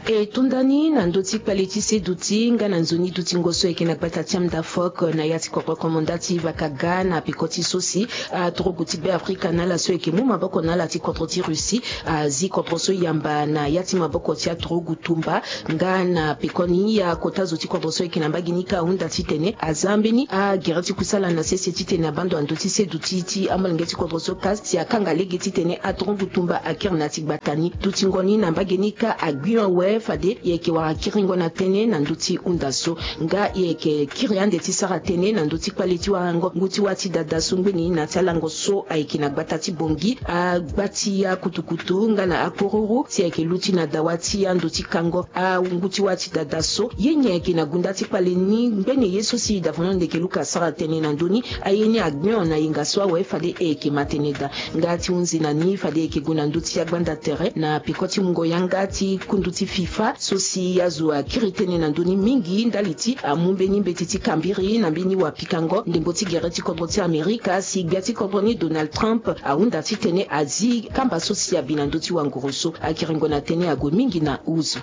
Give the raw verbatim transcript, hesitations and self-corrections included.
E tonda ni na ndö ti kpale ti seduti nga na nzoni dutingo so ayeke na gbata ti amda fok na ya ti kodro komanda ti vakaga na peko ti so si atorogu ti be afrika na ala so ayeke mu maboko na ala ti kodro ti russie azi kodro so yamba na ya ti maboko ti atorogu tumba. Nga na pekoni akota zo ti kodro so ayeke na mbage ni ka ahunda titene aza mbeni agere ti kusala na sese titene abando na ndö ti seduti ti amolenge ti kodro so ka si akanga lege titene atorogu tumba akiri na ya ti gbata ni. Dutingo ni na mbage ni ka agbi awe fade e yeke wara kiringo na tënë na ndö ti hunda so. Nga e yeke kiri ande ti sara tënë na ndö ti kpale ti warango ngu ti wâ ti dada so ngbeni na ti alango so ayeke na gbata ti bongi agba ti akutukutu nga na akororo si ayeke luti na dawa ti ando ti kango angu ti wâ ti dada so ye nyen ayeke na gunda ti kpale ni ngbeni ye so si davano ndeke luka asara tënë na ndö ni. Aye ni agbion na yenga so awe fade e yeke ma tënë daa. Nga ti hunzi na ni fade e yeke gue na ndö ti agbanda tere na peko ti mungo yanga ti kundu ti fifa so si azo akiri tënë na ndö ni mingi ndali ti amu mbeni mbeti ti kambiri na mbeni wapikango ndembo ti gere ti kodro ti amerika si gbia ti kodro ni donald trump ahunda titene azi kamba so si abi na ndö ti wanguru so. Akiringo na tënë ague mingi na uzu.